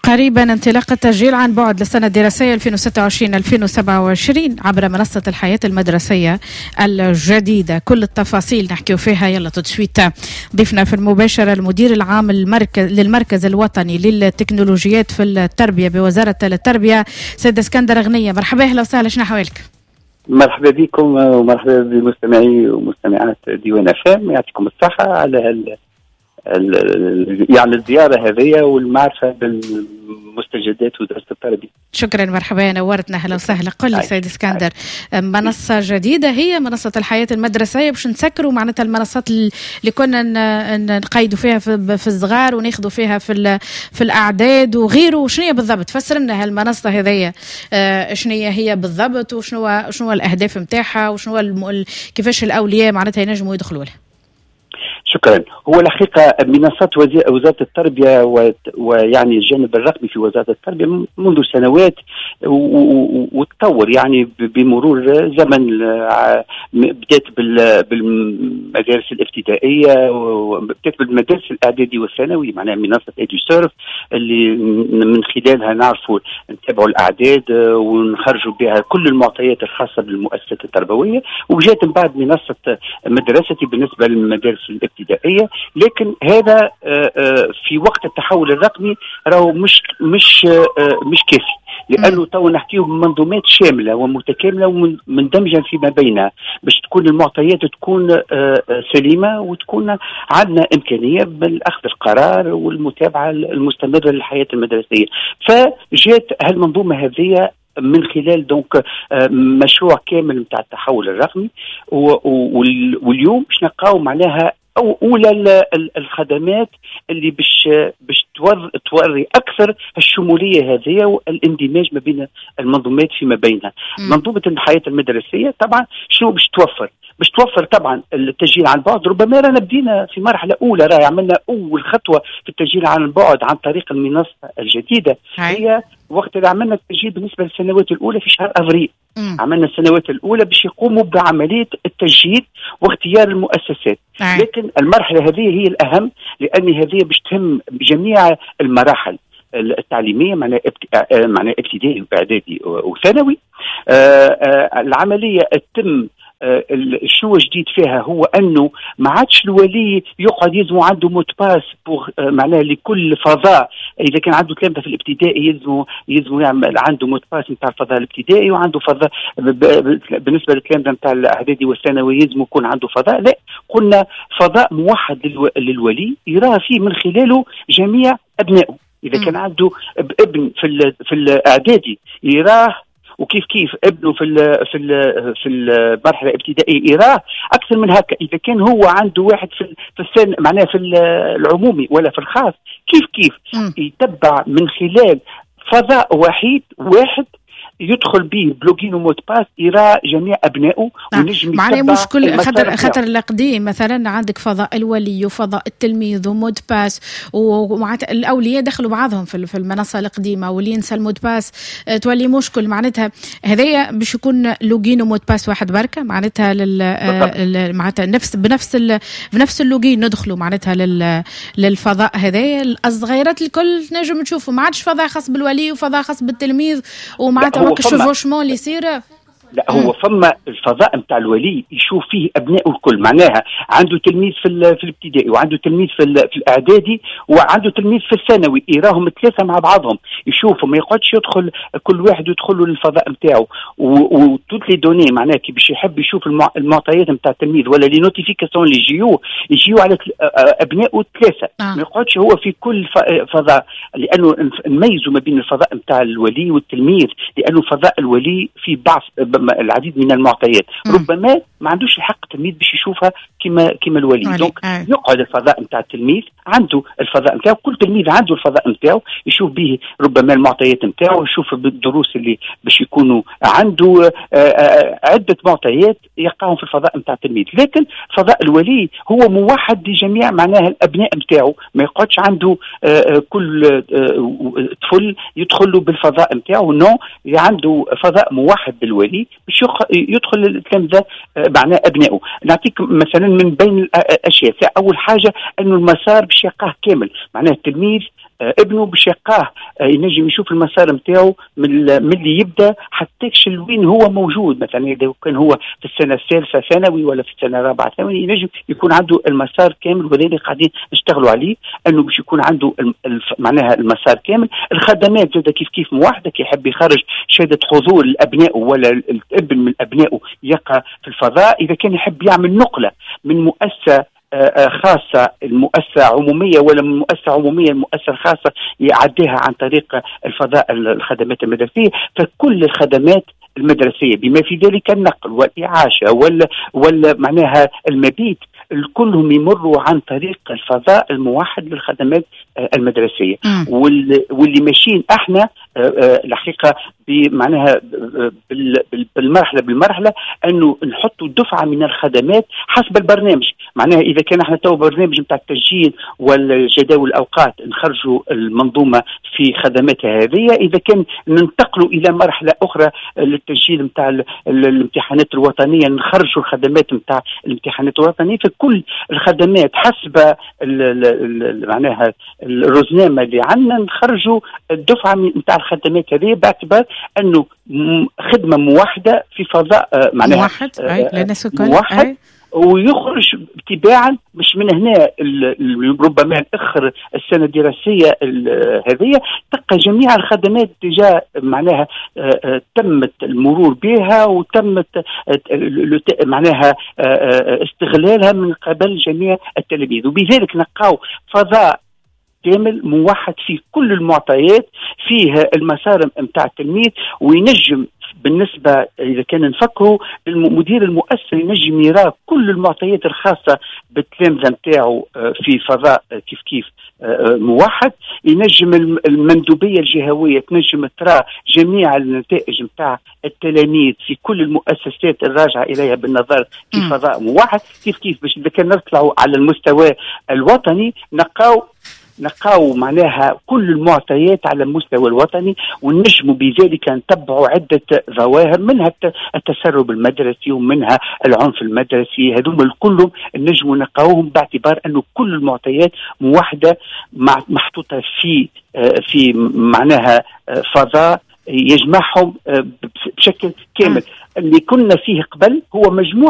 قريبا انطلاق التسجيل عن بعد للسنة الدراسية 2026-2027 عبر منصة الحياة المدرسية الجديدة. كل التفاصيل نحكي فيها يلا tout de suite. ضيفنا في المباشرة المدير العام للمركز الوطني للتكنولوجيات في التربية بوزارة التربية، سيد اسكندر غنية. مرحبا، اهلا وسهلا، شنو احوالك؟ مرحبا بكم ومرحبا بمستمعي ومستمعات ديوان FM، يعطيكم الصحة على يعني الزيارة هذه والمعرفة بالمستجدات وزارة التربية. شكرا، مرحبا، نورتنا، اهلا وسهلا. قل لي سيد اسكندر، منصة جديدة هي منصة الحياة المدرسية باش نسكروا معناتها المنصات اللي كنا نقيدوا فيها في الصغار وناخذوا فيها في الاعداد وغيره. شنو هي بالضبط؟ فسر لنا هالمنصة هذيا شنو هي بالضبط وشنو شنو الاهداف نتاعها وشنو كيفاش الاولياء معناتها ينجموا يدخلوا لها. شكرا. هو الحقيقة منصات وزارة التربية ويعني الجانب الرقمي في وزارة التربية منذ سنوات وتطور يعني بمرور زمن. بدات بالمدارس الابتدائيه وبدات بالمدارس الاعدادي والثانوي، معناها منصة Eduserv اللي من خلالها نعرفوا نتابعوا الاعداد ونخرجوا بها كل المعطيات الخاصة بالمؤسسات التربويه، وجات من بعد منصة مدرستي بالنسبة للمدارس الابتدائيه. لكن هذا في وقت التحول الرقمي راهو مش كافي، لانه تو نحكيو بمنظومات شاملة ومتكامله ومندمجه فيما بينها باش تكون المعطيات تكون سليمة وتكون عندنا امكانية بالاخذ القرار والمتابعة المستمرة للحياة المدرسية. فجات هالمنظومه هذه من خلال donc مشروع كامل نتاع التحول الرقمي، واليوم باش نلقاو معناها او اولى الخدمات اللي باش توري اكثر الشمولية هذه والاندماج ما بين المنظومات فيما بينها. منظومة الحياة المدرسية طبعا شنو باش توفر؟ باش توفر طبعا التسجيل عن بعد. ربما رانا بدينا في مرحلة اولى، راهي عملنا اول خطوة في التسجيل عن بعد عن طريق المنصة الجديدة. هي وقت اللي عملنا التسجيل بالنسبة للسنوات الاولى في شهر افريل. عملنا السنوات الاولى باش يقوموا بعملية التسجيل واختيار المؤسسات. لكن المرحلة هذه هي الاهم، لان هذه باش تهم جميع المراحل التعليميه، معناها ابتدائي واعدادي وثانوي. العملية تتم. شنو جديد فيها؟ هو انه ما عادش الولي يقعد يلزمو عنده mot de passe pour معناها لكل فضاء. اذا كان عنده تلامذه في الابتدائي يلزمو يعمل عنده mot de passe نتاع الفضاء الابتدائي، وعنده فضاء بالنسبة للتلامذه نتاع الاعدادي والثانوي يلزمو يكون عنده فضاء. لا، قلنا فضاء موحد للولي يرى فيه من خلاله جميع ابنائه. اذا كان عنده ابن في الاعدادي يراه، وكيف كيف ابنه في المرحلة الابتدائية يراه. اكثر من هكا، اذا كان هو عنده واحد في السن معناها في العمومي ولا في الخاص، كيف كيف يتبع من خلال فضاء وحيد واحد يدخل به ب login و mot de passe يرى جميع ابنائه. ونجم معناها مش كل خاطر القديم مثلا عندك فضاء الولي وفضاء التلميذ و mot de passe، ومعناتها الاولياء دخلوا بعضهم في المنصة القديمه، واللي ينسى ال mot de passe تولي مشكل. معناتها هذايا باش يكون login و mot de passe واحد بركه، معناتها معناتها نفس بنفس بنفس ال login ندخلوا معناتها للفضاء هذايا. الصغيرات الكل نجم تشوفوا، ما عادش فضاء خاص بالولي وفضاء خاص بالتلميذ، ومعناتها chevauchement اللي يصير. لا، هو فما الفضاء نتاع الولي يشوف فيه ابنائه الكل، معناها عنده تلميذ في الابتدائي وعنده تلميذ في الاعدادي وعنده تلميذ في الثانوي، يراهم ثلاثة مع بعضهم يشوفوا، ما يقعدش يدخل كل واحد يدخل له للفضاء نتاعو و toutes les données. معناها كي باش يحب يشوف المعطيات نتاع التلميذ ولا les notifications اللي يجيو على ابنائه الثلاثه. ما يقعدش هو في كل فضاء، لانه نميزوا ما بين الفضاء نتاع الولي والتلميذ، لانه فضاء الولي في بعض العديد من المعطيات ربما ما عندوش الحق التلميذ باش يشوفها كما الولي. donc يقعد الفضاء نتاع التلميذ عنده الفضاء نتاعو، كل تلميذ عنده الفضاء نتاعو يشوف به ربما المعطيات نتاعو، يشوف بالدروس اللي باش يكونوا عنده عده معطيات يلقاهم في الفضاء نتاع التلميذ. لكن فضاء الولي هو موحد لجميع معناها الابناء نتاعو، ما يقعدش عنده كل طفل يدخل له بالفضاء نتاعو، non، عنده فضاء موحد بالولي باش يدخل التلامذه معناه ابنائه. نعطيك مثلا من بين الاشياء، اول حاجة انه المسار باش يلقاه كامل، معناه التلميذ ابنه باش يلقاه ينجم يشوف المسار نتاعو من اللي يبدا حتى لوين هو موجود. مثلا اذا كان هو في السنة الثالثة ثانوي ولا في السنة الرابعة ثانوي ينجم يكون عنده المسار كامل، وهذا اللي قاعدين نشتغلوا عليه انه باش يكون عنده معناها المسار كامل. الخدمات زاد كيف كيف موحدة، كي يحب يخرج شهادة حضور لابنائه ولا الابن من ابنائه يقع في الفضاء، اذا كان يحب يعمل نقله من مؤسسة خاصة المؤسسة عمومية ولا من مؤسسة عمومية المؤسسة الخاصة يعديها عن طريق الفضاء الخدمات المدرسية. فكل الخدمات المدرسية بما في ذلك النقل والإعاشة ولا معناها المبيت كلهم يمروا عن طريق الفضاء الموحد للخدمات المدرسية. واللي ماشيين احنا الحقيقة بمعناها بالمرحلة انه نحطوا دفعه من الخدمات حسب البرنامج. معناها اذا كان احنا تو برنامج نتاع التسجيل والجداول الاوقات نخرجوا المنظومة في خدماتها هذه، اذا كان ننتقلوا الى مرحلة اخرى للتسجيل نتاع الامتحانات الوطنية نخرجوا الخدمات نتاع الامتحانات الوطنية. فكل الخدمات حسب معناها الرزنامه اللي عندنا نخرجوا الدفعة نتاع الخدمات هذه باعتبار انه خدمة موحدة في فضاء معناها موحد موحد ويخرج تباعا. مش من هنا ربما اخر السنة الدراسية هذه تلقى جميع الخدمات déjà معناها تمت المرور بها وتمت معناها استغلالها من قبل جميع التلاميذ، وبذلك نلقاو فضاء كامل موحد فيه كل المعطيات، فيه المسار نتاع التلميذ، وينجم بالنسبة إذا كان نفكروا المدير المؤسسة ينجم يرى كل المعطيات الخاصة بالتلامذة نتاعو في فضاء كيف كيف موحد. ينجم المندوبية الجهوية تنجم ترى جميع النتائج نتاع التلاميذ في كل المؤسسات الراجعة إليها بالنظر في فضاء موحد كيف كيف. باش إذا كان نطلعوا على المستوى الوطني نلقاو معناها كل المعطيات على المستوى الوطني، ونجموا بذلك نتبعوا عدة ظواهر منها التسرب المدرسي ومنها العنف المدرسي. هذوما الكل نجموا نلقاوهم باعتبار أنه كل المعطيات موحدة محطوطة في معناها فضاء يجمعهم بشكل كامل. اللي كنا فيه قبل هو مجموعة